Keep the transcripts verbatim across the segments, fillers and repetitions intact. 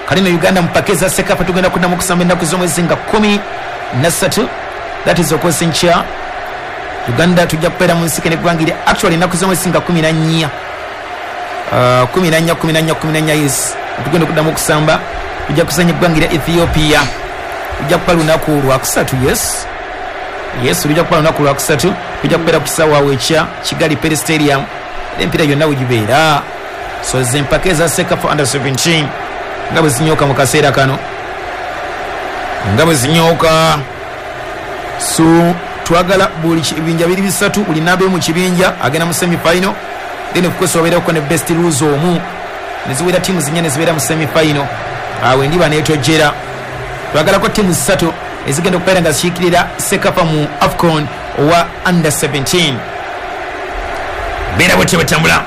Kalino Uganda mpakeza Sekafa tugenda kuddamu okusamba ennaku z'omwezi nga kumi na ssatu, that is okosi nkya. Uganda tujja kubeera mu nsike n'eggwanga erya actually ennaku z'omwezi nga kumi na nnya, uh, kumi na nnya kumi na nnya kumi na nnya, yes, tugenda okuddamu okusamba. Tujja kusanya eggwanga erya Ethiopia, tujja kuba lunaku lwakusatu, yes yes, lujja kuba lunaku lwakusatu, tujja kubeera ku kisaawe awo ekya Kigali Pele Stadium, empiira yonna wegibeera. So ze mpaka eza Sekafa under seventeen nga bwe zinyooka mu kaseera kano, nga bwe zinyooka. So twagala buli kibinja biri bisatu, buli namba mu kibinja agenda mu semi final, then of course wabeerako ne best loser omu, ne ziwera tiimu zinnya ne zibeera mu semi final. Awo endiba neetojjera. Twagalako tiimu ssatu ezigenda okubeera nga zikiikirira Sekafa mu AFCON owa under seventeen. Beera bwetyo bwetambula.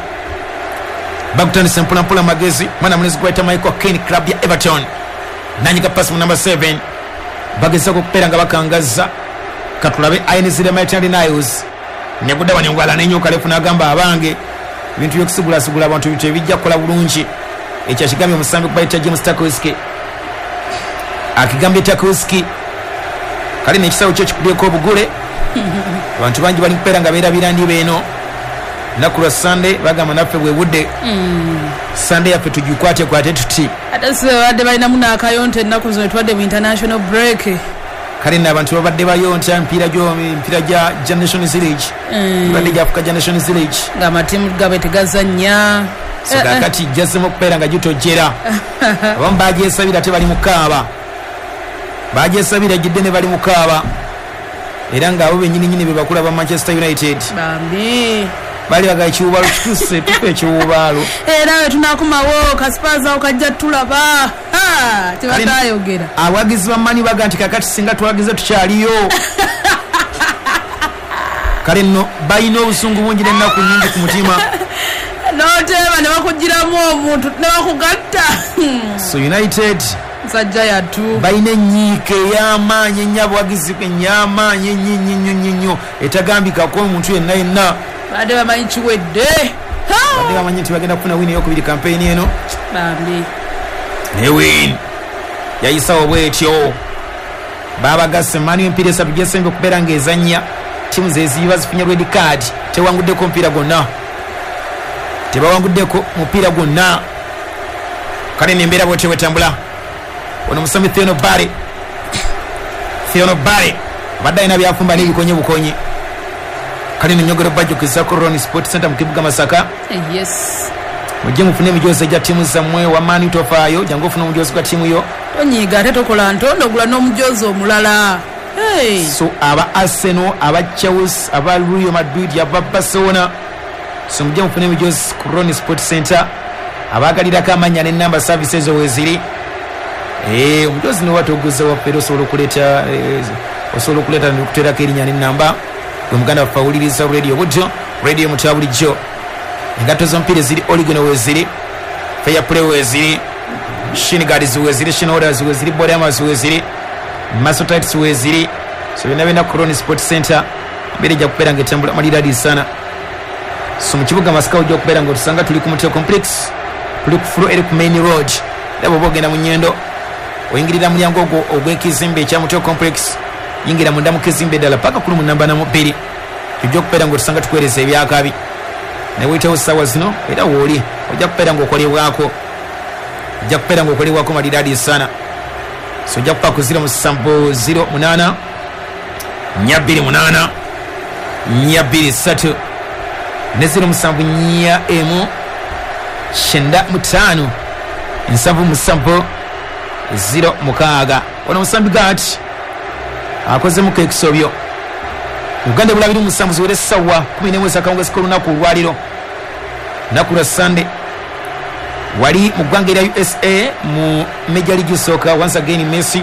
Bakutandisa mpolampola magezi, mwana munezi gwayita Michael Keane, club ya Everton, nanyiga pasi mu number seven, bagezaako okubeera nga bakangaza. Katulabe Ainzire Maitland Niles negudda wano engwala n'enyoka lefu n'agamba abange ebintu by'okusigulasugula abantu bintu ebijja kukola bulungi. Ekyo akigambye omusambi kubayita James Tarkowski, akigambye Tarkowski kale n'ekisawo kyo kikubyeko obugule. Abantu bangi bali kubeera nga beerabira ndiba eno lunaku lwa Sunday, bagamba naffe bwe budde Sunday yaffe tugikwate kwate tuti. Ate si babadde balinamu n'akayonta ennaku zino, tubadde mu international break. Kale nno abantu babadde bayonta emipiira gyo emipiira gya gya Nations League, gibadde gya Africa gya Nations League, ng'amatiimu gaabwe tegazannya. So kakati jazzemu okubeera nga gitojjera. Abamu bagyesabira ate bali mu kaaba, bagyesabira gidde ne bali mu kaaba, era ng'abo bennyini nnyini be bakula ba Manchester United. Bambi bali baga ekiwubaalo kituuse, tufe ekiwubaalo. Era we tunakomawo kasipaazi awo kajja tulaba tebatayogera. Abawagizi ba Mani baga nti kakati singa twagize tukyaliyo. Kale nno balina obusungu bungi n'ennaku nnyingi ku mutima. N'oteeba ne bakugiramu omuntu ne bakugatta. So United nsajja yattu balina ennyiike ey'amaanyi ennyo, abawagizi enny'amaanyi ennyo ennyo ennyo nnyo nnyo etagambikako omuntu yenna yenna. Badde bamanyi kiwedde, badde bamanyi nti bagenda kufuna win eyokubiri kampeyini eno. Bambi ne win yayisawo bwetyo. Babagasse Mani emipiira esatu gyesembye okubeera ng'ezannya, ttiimu ze ziba zifunye red card, tewanguddeko omupiira gwonna, tebawanguddeko mupiira gwonna. Kale nembeera bwetyo bwetambula. Ono musambi Theono Bare, Theono Bare abadde alina byafumba n'ebikonye bukonye. Kale nenyogero bajjukizaako Ron Sport Center mu kibuga Masaka. Yes, mujje mufune emijoozi egya ttiimu zammwe. Wamaani tofaayo, jangu ofune omujoozi gwa ttiimu yo. Tonyiiga ate tokola ntondo, ogula n'omujoozi omulala. So aba Arsenal, aba Chelsea, aba Real Madrid, aba Barcelona, so mujje mufune emijoozi ku Ron Sport Center. Abaagalirako amannya n'ennamba services ezo weeziri. Eh, omujoozi newatoguza waffe era osobola okuleeta osobola okuleeta nekuteerako erinnya n'ennamba. Gwe muganda waffe awuliriza radio bujjo, radio mutya bulijjo. Engatto z'omupiira eziri Oligone weeziri, Fair Play weeziri, shin guards weeziri, shin holders weeziri, body armors weeziri, muscle tights weeziri. So byonna byonna ku Ron Sport Center embeera ejja kubeera ng'etambula maliradi sana. So mu kibuga Masaka ojja okubeera ng'otusanga tuli ku Mutyo Complex, tuli ku floor eri ku main road. Era bw'oba ogenda mu Nyendo oyingirira mulyango ogwo ogw'ekizimbe ekya Mutyo Complex, yingira munda mu kizimbe ddala paka kulu mu namba namu bbiri, tujja okubeera ng'otusanga tukuweereza ebyakabi. Naye wuyitewo ssaawa zino era wooli ojja kubeera ng'okolebwako, ojja kubeera ng'okolebwako maliradi sana. So ojja kuba ku ziro musanvu ziro munaana nnya bbiri munaana nnya bbiri ssatu ne ziro musanvu nnya emu kyenda mutaano nsanvu musanvu ziro mukaaga. Ono musambi gati akozemuko ekisobyo. Uganda ebula biri musanvu ziwere essaawa kumi n'emu ez'akawungeezi k'olunaku olwaliro, lunaku lwa Sunday. Wali mu ggwanga erya U S A mu Major League Soccer, once again Messi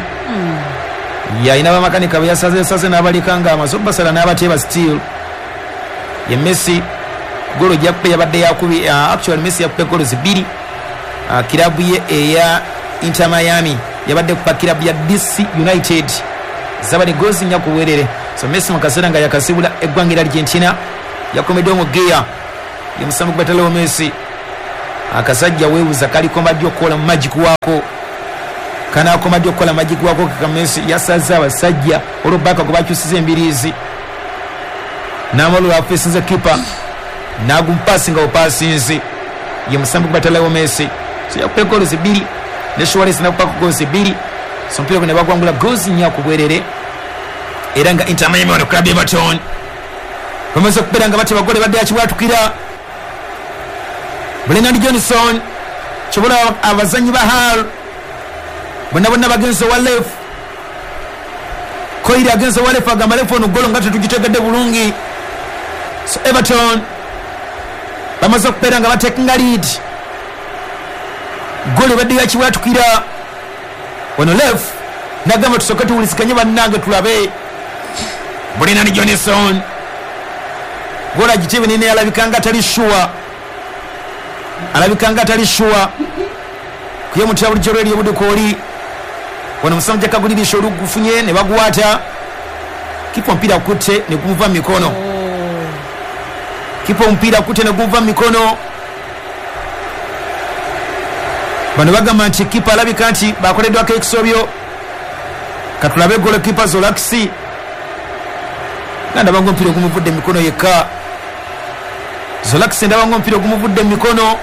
yalina bamakanika be yasazesaze n'abaleka nga amaze obbasala n'abateeba still. Ye Messi golo gyakube yabadde yakubi, actually Messi yakube golo zibiri. Uh, kirabu ye eya Inter Miami yabadde kupa kirabu ya D C United zabadde gozi nnya ku bwerere. So Messi mu kaseera nga yakasibula eggwanga erya Argentina yakomeddewo mu geya ye musambi gwe batalawo Messi. Akasajja weebuza kaliko mbadde okukola mu magic waako. Kanakoma ddi okukola amagi gwako Kamesi yasaze abasajja olubaka gwe bakyusiza embiriizi n'amala afesinze kipa n'agumpasinga bupasinzi ye musambi gwe Messi. So yakupa goals bbiri ne Suarez n'akupa goals bbiri, so omupiira guno ne bagwangula goals nnya ku bwerere. Era nga Inter Miami wano club Everton bamaze okubeera nga bateba gole badde yakibwatukira Brennan Johnson kyobola abazanyi ba Hull bonna bonna bagenze wa left Koiri agenze wa left agamba left ono golo nga tetugitegedde bulungi. So Everton bamaze okubeera nga batekinga lead, gole badde yakibwatukira ono left nagamba tusooke tuwuliziganye bannange tulabe. Brennan Johnson gola gitebe nene alabika nga tali sure, alabika nga tali sure kuye mutya bulijjo lweri obudukooli wano omusajja kagulirisha olugufunye ne baguwata kipa omupiira kutte ne gumuva mu mikono, kipa omupiira kutte ne gumuva mu mikono. Bano bagamba nti kipa alabika nti bakoleddwako ekisobyo. Katulabe golo kipa Zolaxi nga ndaba ng'omupiira ogumuvudde mu mikono yekka. Zolaxi ndaba ng'omupiira ogumuvudde mu mikono.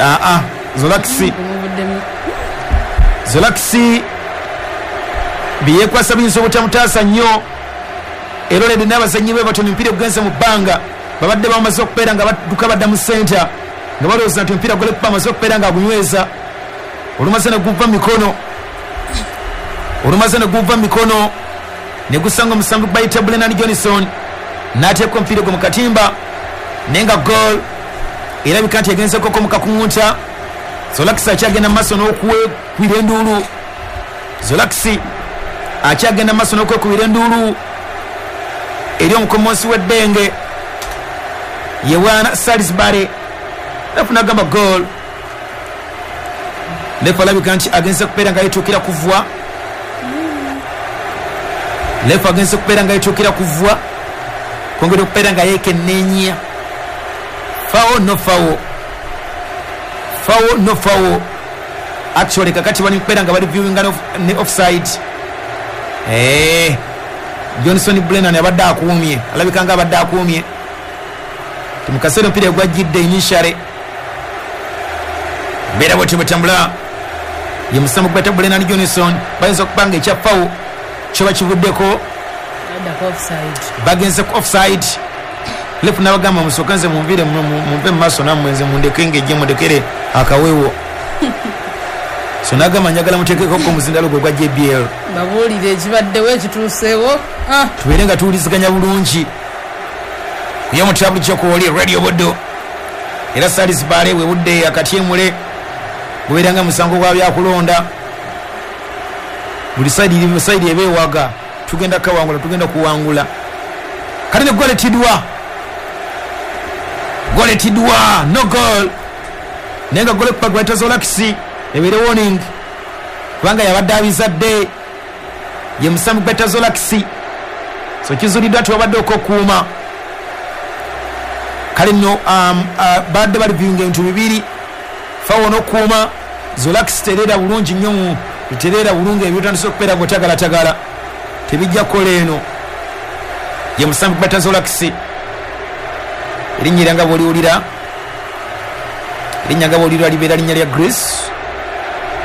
Aa Zolaxi Zolaxi byekwasa biyinza obutamutaasa nnyo era olede n'abazannyi be batono omupiira ogugenze mu bbanga babadde bamaze okubeera nga badduka badda mu senta nga balowooza nti omupiira gole amaze okubeera nga agunyweza olumaze ne guva mu mikono, olumaze ne guva mu mikono ne gusanga omusambi bayita Brennan Johnson n'ateeka omupiira gwe mu katimba naye nga goal erabika nti egenzekoko mu kakuŋŋunta. Zolaxi akyagenda mu maaso n'okwekubira enduulu, Zolaxi akyagenda mu maaso n'okwekubira enduulu eri omukomonsi w'eddenge ye bwana Salisbury. Lefu n'agamba goal. Lefu alabika nti agenze kubeera nga yetuukira kuvwa, lefu agenze kubeera nga yetuukira kuvwa kwongera okubeera nga yeekenneenya fawo no fawo, fawo no fawo. Actually kakati bali kubeera nga bali viewinga ne offside. Eh, Johnson Brennan abadde akuumye, alabika nga abadde akuumye mu kaseera omupiira gwajjidde initially mbeera bwetyo bwetambula ye musambi gweta Brennan Johnson bayinza okuba nga ekya fawo kyoba kivuddeko bagenze ku offside. Lefu n'abagamba musooke nze munviire munve mu maaso nammwe nze mundeke ng'ejje mundekere akaweewo. So n'agamba njagala muteekeko omuzindalo gwe gwa J B L babuulire ekibaddewo ekituuseewo tubeere nga tuwuliziganya bulungi. Kuye mutya bulijjo kwoli Radio Buddo era Salisbury webudde akatyemule gubeera nga musango gwa byakulonda buli sayidi sayidi eba ewaga tugenda kawangula tugenda kuwangula. Kale ne gole tidwa, gole tidwa no goal naye nga gole kupa Zolaxi ebeere warning kubanga yabadde abizadde ye musambi gweta Zolaxi. So kizuuliddwa nti wabadde okokuuma. Kale nno um, uh, badde bali viewinga ebintu bibiri fawo n'okuuma. Zolaxi tereera bulungi nnyo, tereera bulungi ebyotandise okubeera ng'otagalatagala tebijja kukola eno ye musambi gweta Zolaxi. Erinnya era nga bw'oliwulira, erinnya nga bw'oliwulira libeera linnya lya Greece.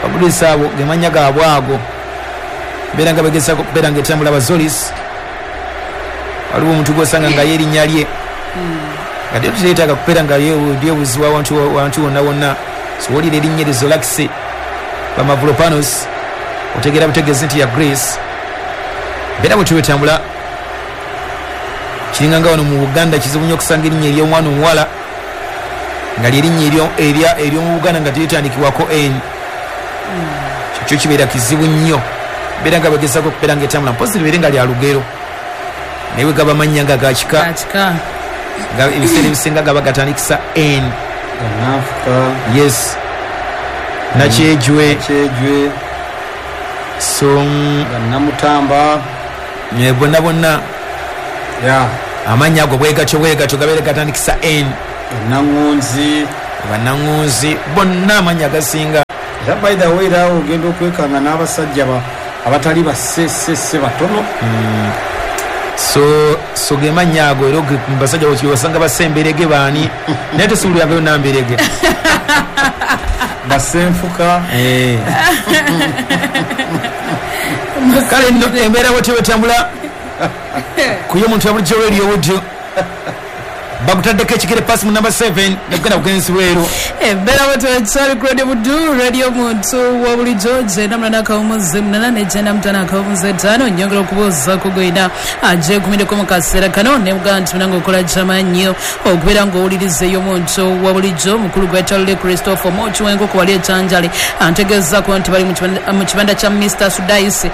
Abagreece abo ge mannya gaabwe ago beera nga begezaako okubeera nga etambula Abazolis. Waliwo omuntu gw'osanga nga ye erinnya lye nga tyo teyeetaaga kubeera nga lyebuzibwa wantu wonna wonna. So wulira erinnya eryo Zolaxi Bamavropanos otegeera butegeezi nti ya Greece. Mbeera bwetyo bwetambula kiringa nga wano mu Buganda kizibu nnyo okusanga erinnya ery'omwana omuwala nga lyerinnya ery'omu Buganda nga teritandikibwako N. Kyo kibeera kizibu nnyo. Mbeera nga bagezaako okubeera nga etambula mpozi libeere nga lya lugero naye bwe gaba mannya nga ga kika nga ebiseera ebisinga gaba gatandikisa N. Yes, Nakyejwe, so Namutamba bonna bonna amannya ago bwegatyo bwegatyo gabeere gatandikisa N. Naŋŋunzi, banaŋŋunzi bonna amannya agasinga Era by the way era ogenda okwekanga n'abasajja abatali basesese batono. Mm. So so gemanya ago era basajja basanga basemberege baani naye tesuuliragayo namberege basenfuka eh. Kale nno embeera bwetyo bwetambula kuyo omuntu yabulijjo Radio Buddu bakutaddeko ekigere pasi mu number seven nekugenda kugenzi bweru. Embeera bwetyo ekyali ku Radio Buddu, Radio Muntu wa bulijjo gyenda munana akawumuze munana ne gyenda mutaano akawumuze ttaano. Nyongera okubuuzaako gwena agyegumiddeko mu kaseera kano ne mugamba nti munange okola kyamaanyi nnyo okubeera ng'owuliriza ey'omuntu wa bulijjo. Mukulu gwa Charlie Christopher Mochi w'enkoko wali ekyanjale antegeezaako nti bali mu kibanda kya Mister Sudais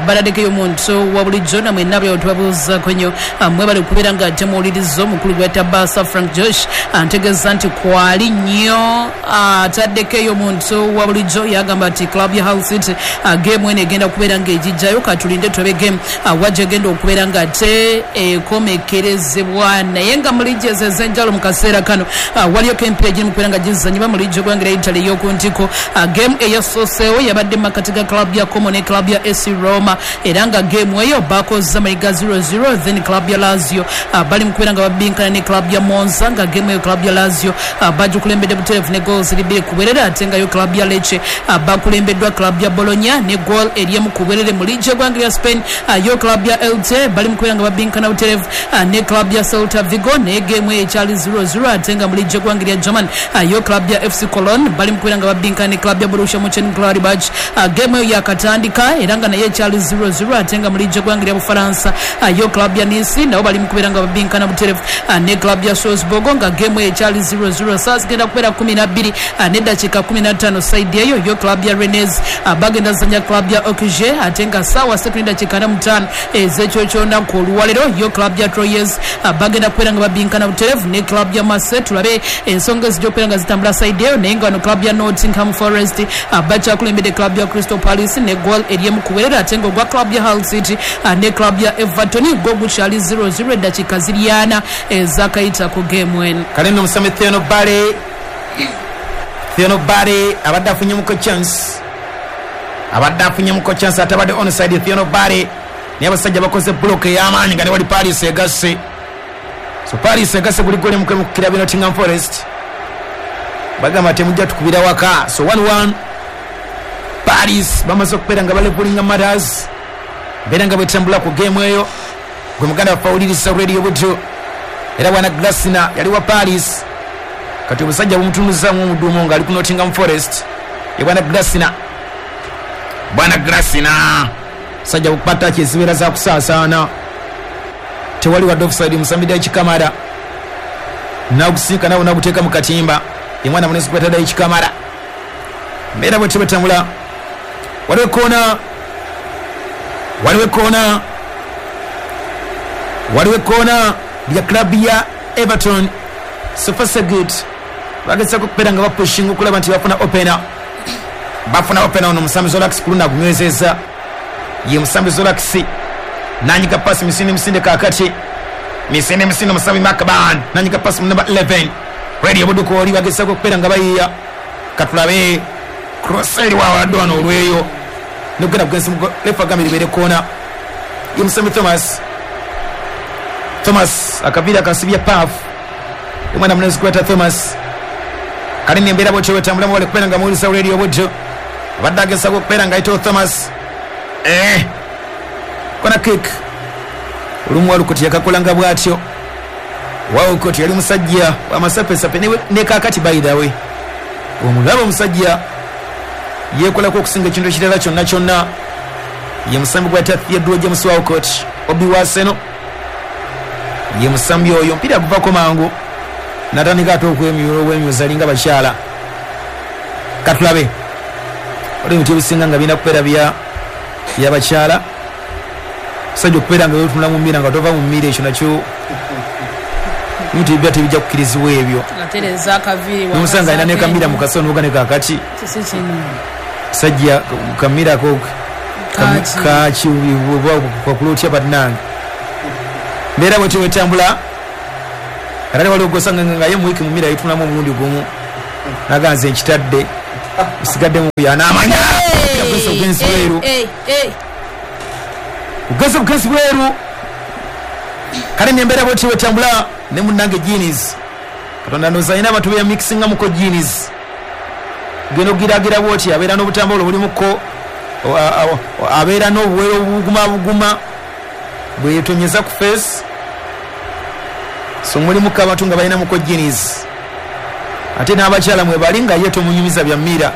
baladdeko ey'omuntu wa bulijjo namwe nabyo tubabuuzaako nnyo mwebale kubeera nga temuwuliriza. Omukulu gwa Tabasa Frank Josh antegeeza nti kwali nnyo ataddeko ey'omuntu wa bulijjo yagamba nti club ya Hull City game eno egenda kubeera ng'egijjayo katulinde tulabe game wajja egenda okubeera nga te ekomekerezebwa. Naye nga mu liigi ezo ez'enjawulo mu kaseera kano waliyo k'emipiira egiri mu kubeera nga gizannyibwa mu liigi y'eggwanga lya Italy ey'oku ntiko. Game eyasooseewo yabadde mu makati ga club ya Como ne club ya A C Roma era nga game eyo bakoze amayiga zero zero. Then club ya Lazio bali mu kubeera nga babinkana ne club ya Monza nga game eyo club ya Lazio bagikulembedde butereevu ne goals bbiri ku bwerere, ate nga yo club ya Lecce bakulembeddwa club ya Bologna ne goal eriemu ku bwerere. Mu liigi y'eggwanga lya Spain yo club ya Elche bali mu kubeera nga babinkana butereevu ne club ya Celta Vigo ne game eyo ekyali zero zero, ate nga mu liigi y'eggwanga lya German yo club ya F C Cologne bali mu kubeera nga babinkana ne club ya Borussia Mönchengladbach. Game eyo yakatandika era nga nayo ekyali zero zero, ate nga mu liigi y'eggwanga lya Bufalansa yo club ya Nice nabo bali mu kubeera nga babinkana butereevu ne club ya Strasbourg nga game eyo ekyali zero zero. Saa zigenda kubeera kumi na bbiri n'eddakiika kumi na ttaano side eyo yo club ya Rennes bagenda zanya club ya Auxerre, ate nga saawa ssatu n'eddakiika ana mu ttaano ez'ekiro ky'olunaku olwaleero yo club ya Troyes bagenda kubeera nga babinkana butereevu ne club ya Marseille. Tulabe ensonga ezijja okubeera nga zitambula side eyo. Naye nga wano club ya Nottingham Forest bakyakulembedde club ya Crystal Palace ne goal eriemu ku bwerere, ate nga ogwa club ya Hull City ne club ya Everton gwo gukyali zero zero eddakiika ziri ana ezakayita ku game eno. Kale nno omusami Theono Bale Theono Bale abadde afunyemuko chance abadde afunyemuko chance ate abadde onside Theono Bale naye abasajja bakoze block ey'amaanyi nga ne wali Paris egasse. So Paris egasse buli goli mu kukira Nottingham Forest bagamba temujja tukubira waka. So one one Paris bamaze okubeera nga balevulinga matters mbeera nga bwetambula ku game eyo. Gwe muganda waffe awuliriza Radio Buddu era bwana Glasner yali wa Paris kati obusajja bumutunuzaamu omuduumo ng'ali ku Nottingham Forest ye bwana Glasner. Bwana Glasner sajja bukupata ki ezibeera za kusaasaana tewali wadde offside musambi Daichi Kamara nagusiika nawo naguteeka mu katimba ye mwana munenzi kweta Daichi Kamara. Mbeera bwetyo bwetambula. Waliwo ekkoona waliwo ekkoona waliwo ekkoona lya club ya Everton. So far so good bagezaako okubeera nga bapushinga okulaba nti bafuna opener bafuna opener ono musambi Zolax kuluna agunywezezza ye musambi Zolax nanyiga pasi misinde misinde kakati misinde misinde musambi Macban nanyiga pasi mu number eleven Radio Buddu oli bagezaako okubeera nga bayiya katulabe cross eri wawadde wano olweyo nokugenda kugenzi refa agambye libeere koona ye musambi Thomas Thomas akaviira akasibya paf omwana munenzi kweta Thomas. Kale nno embeera bwetyo bwetambulamu wale kubeera nga muwuliriza Radio Buddu abadde agezaako okubeera nga ayitawo Thomas eh kona kick olumu Walcott yakakolanga bw'atyo. Walcott yali musajja w'amasapesape ne kaakati by the way omulaba omusajja yeekolako okusinga ekintu ekirala kyonna kyonna ye musambi gwayita Theodore James Walcott obi wa Arsenal ye musambi oyo mpira guvako mangu natandika ate okwemyula obwemyuza alinga bakyala. Katulabe waliwo ebintu ebisinga nga birina kubeera bya byabakyala musajja okubeera nga wetunula mu mmira nga tova mu mmira ekyo nakyo ebintu ebibya tebijja kukkirizibwa ebyo. Nomusanga alina ne kamira mu kaso noga ne kakati sajja kamira ko kaki kwakula otya bannange. Mbeera bwetyo bwetambula era waliwo gw'osanga nga ye mu wiiki mu mmira yetunamu omulundi gumu naganze nkitadde Usigadde mu yanamanya obugenzi bweru ugeze bugenzi bweru kale nembeera bweti wetambula ne munnange jeans Katonda ndowooza alina abantu be yamikisingamuko jeans geno giragira bwoti abeera n'obutambula obulimuko abeera n'obuwero obuguma buguma bweyetonyeza ku face so mulimuko abantu nga balinamuko jeans ate n'abakyala mwe bali nga ye tomunyumiza bya mmira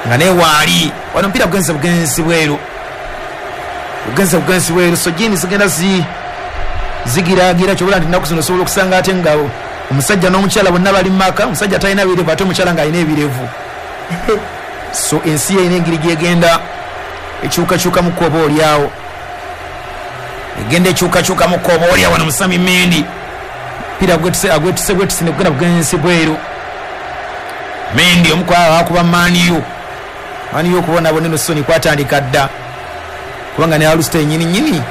nga naye waali wano omupiira gugenze bugenzi bweru bugenze bugenzi bweru so jeans zigenda zi zigiragira kyobula nti ennaku zino osobola okusanga ate nga omusajja n'omukyala bonna bali mu maka omusajja talina birevu ate omukyala ng'alina ebirevu so ensi erina engeri gyegenda ekyukakyukamuko oba oliawo egenda ekyukakyukamuko oba oliawo wano Musami Mendi mpira agwetuse agwetuse gwetuse negugenda bugenzi bweru Mendi omu kwabo akuba Man U Man U okubonabona eno soni kwatandika dda kubanga ne Alusta ennyini nnyini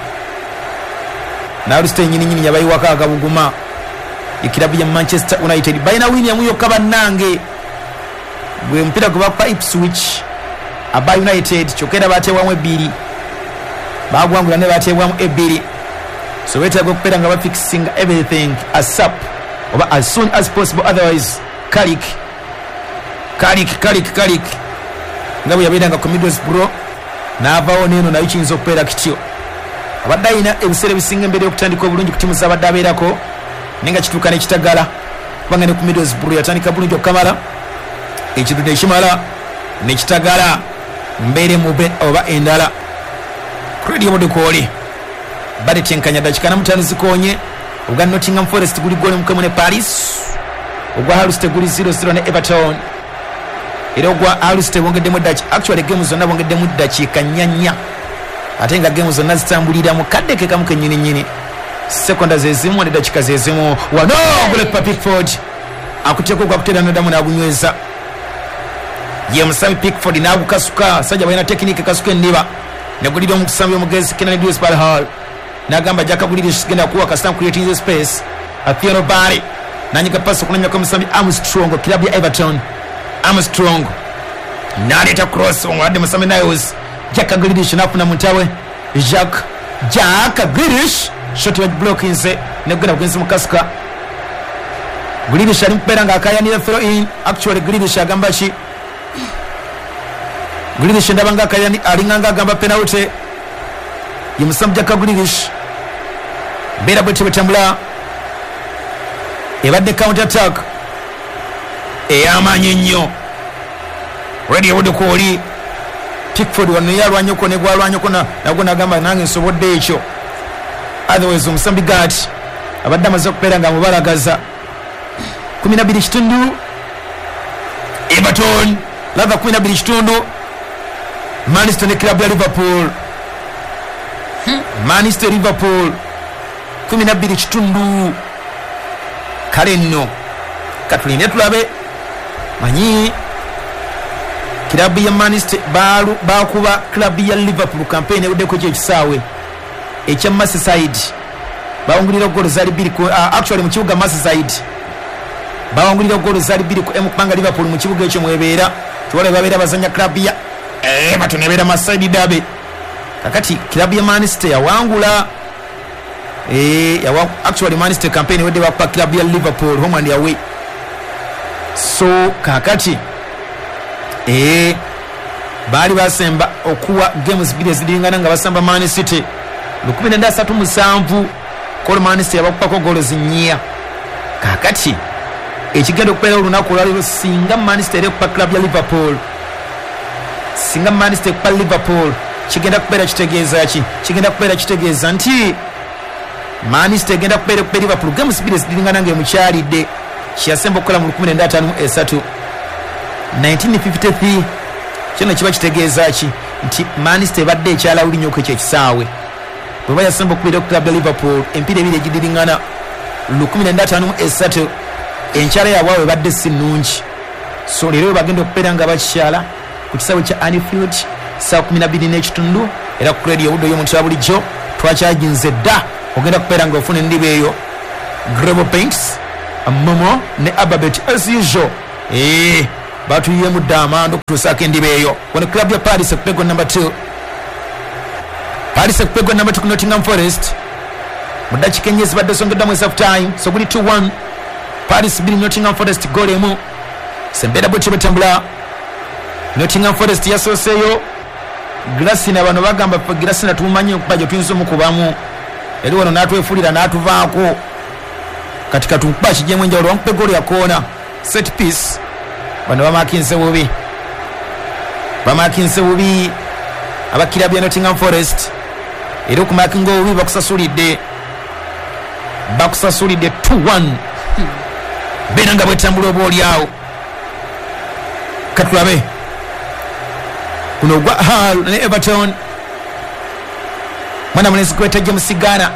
n'Alusta ennyini nnyini yabayiwako agabuguma ekirabu ya Manchester United balina wini yamu yokka bannange gwe mupiira gwe bakuba Ipswich aba United kyokka era bateebwamu ebbiri bagwangula ne bateebwamu ebbiri so beetaaga okubeera nga bafixinga everything asap oba as soon as possible otherwise Carrick Carrick Carrick Carrick nga bwe yabeeranga ku Middlesbrough n'avaawo n'eno nayo kiyinza okubeera kityo abadde alina ebiseera ebisinga embeera y'okutandika obulungi ku ttiimu z'abadde abeerako naye nga kituuka n'ekitagala kubanga ne ku Middlesbrough yatandika bulungi okukamala ekintu nekimala nekitagala mbeere mube oba endala Radio Budukooli badetenkanya dakika na mutaano zikonye ogwa Nottingham Forest guli goli mukemu ne Paris ogwa Hull City guli zero zero ne Everton era ogwa Hull City bongeddemu eddakiika actually game zonna bongeddemu eddakiika nnya nnya ate nga game zonna zitambulira mu kadde ke kamu kennyini nnyini sekonda zezimu neddakiika zezimu wano goalkeeper Pickford akuteeka ogwakutera noddamu n'agunyweza ye Musami Pickford n'agukasuka sajja balina tekinike kasuka endiba negulira omusambi omugezi Kenan Dewsbury Hall n'agamba Jack Grealish genda kuwa kasita creating space Athieno Barry nanyiga pasi okunanyako omusambi Armstrong club ya Everton Armstrong n'aleeta cross omwadde Musami Niles Jack Grealish n'afuna muntawe Jack Jack Grealish shot ya blockinze negenda bugenzi mukasuka Grealish ali mukubeera ng'akayanira throw in actually Grealish agamba ki Grealish ndaba nga akayani alinganga agamba penalty ye Musambi Jack Grealish mbeera bwetyo bwetambula ebadde counter attack ey'amaanyi ennyo Radio Budukooli Pickford wano ye alwanyeko ne gwalwanyeko nagwo nagamba nange nsobodde ekyo otherwise omusambi Gati abadde amaze okubeera nga amubalagaza kumi na bbiri kitundu Everton lava kumi na bbiri kitundu Manchester ne club ya Liverpool Manchester Liverpool kumi na bbiri kitundu kale nno katulinde tulabe manyi kilabu ya Manchester balu bakuba club ya Liverpool campaign eweddeko ekyo ekisaawe ekya Merseyside bawangulira goal zali bbiri ku uh, actually mu kibuga Merseyside bawangulira goal zali bbiri ku emu kubanga Liverpool mu kibuga ekyo mwebeera tuwale babeera bazanya club ya Everton ebeera Merseyside derby kakati club ya Manchester yawangula eh yawa actually Manchester campaign wedde bakuba club ya Liverpool home and away so kakati eh bali basemba okuwa games bbiri ezidingana nga basamba Man City lukumi nenda asatu musanvu kolo Man City yabakupako goal zinnya kakati ekigenda okubeera olunaku olwaleero singa Man City eri okupa club ya Liverpool singa Man City ekupa Liverpool kigenda kubeera kitegeeza ki kigenda kubeera kitegeeza nti Man City egenda kubeera okupa Liverpool games bbiri ezidingana nga emukyalidde kyeyasemba okukola mu lukumi nenda ataano mu esatu nineteen fifty-three kino kiba kitegeeza ki nti Man City ebadde ekyala nnyo ku ekyo ekisaawe bweba yasemba okubeera ku club ya Liverpool empiira ebiri egidiringana lukumi nenda ataano mu esatu enkyala yaabwe ebadde si nnungi so leero bagenda okubeera nga bakikyala ku kisaawe kya Anfield saa kumi na bbiri n'ekitundu era ku Radio Buddo y'omuntu wa bulijjo twakyaginze dda ogenda kubeera nga ofuna endiba eyo Global Paints Momo ne Ababet as usual eh Batuyemu dda amanda okutuusaako endiba eyo. Wano club ya Paris ekupegwa number two. Paris ekupegwa number two ku Nottingham Forest. Mu ddakiika ennya ezibadde zongeddwamu eza half time. So guli two one. Paris bbiri, Nottingham Forest goal emu. Sembeera bwetyo bwetambula. Nottingham Forest yasooseeyo. Grasina bano bagamba ffe Grasina tumumanyi okuba gye tuyinza omukubamu. Eri wano n'atwefulira n'atuvaako. Kati katukuba kigyemu enjawulo, bamukuba eggoolo ya koona. Set piece. Bano bamakinze bubi. Bamakinze bubi aba club ya Nottingham Forest. Era okumakinga obubi bakusasulidde. Bakusasulidde two one. Beera nga bwetambula oba oli awo. Katulabe. Kuno ogwa Hull ne Everton. Mwana mulenzi gweta James Gana.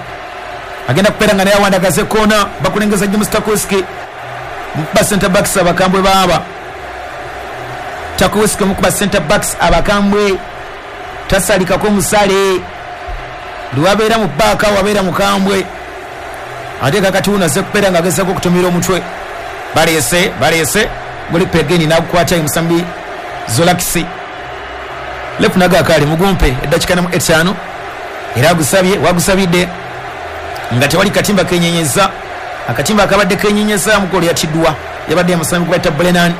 Agenda kupeera nga naye awandagaze koona. Bakulengeza James Tarkowski. Mukuba center backs abakambwe baaba. Tarkowski mukuba center backs abakambwe. Tasalikako musale. Lwabeera mu bbaaka wabeera mukambwe. Ate kakati wuno azze kupeera nga agezaako okutomera omutwe. Baleese, baleese. Goli Pegeni n'agukwata omusambi Zolakisi. Lefu nagakaali mugumpe eddakiika namu etaano. Era agusabye, wagusabidde nga tewali katimba kenyenyeza. Akatimba akabadde kenyenyeza mugolo yatiddwa. Yabadde omusambi gwe bayita Brennan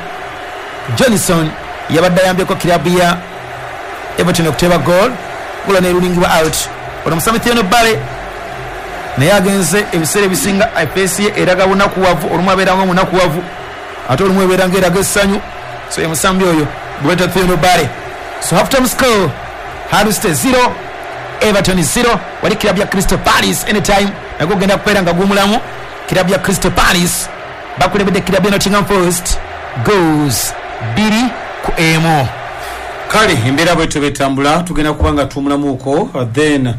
Johnson yabadde ayambyeko kirabu ya Everton okuteeba goal. Goal n'erulingibwa out. Ono omusambi Theodore Bale naye agenze ebiseera ebisinga efeesi ye eraga bunakuwavu. Olumu abeera nga munakuwavu ate olumu ebeera nga eraga essanyu. So ye musambi oyo gwe bayita Theodore Bale. So half time score, Hull City zero, Everton zero. Wali club ya Crystal Palace anytime nagwo genda kubeera nga gumulamu. Club ya Crystal Palace bakulembedde club ya Nottingham Forest goals bbiri ku emu. Kale embeera bwetyo betambula, tugenda kuba nga tuwumulamuuko, then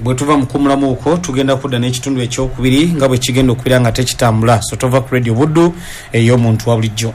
bwe tuva mu kuwumulamuuko tugenda kudda n'ekitundu ekyokubiri nga bwe kigenda okubeera nga tekitambula. So tova ku Radio Buddu ey'omuntu wa bulijjo.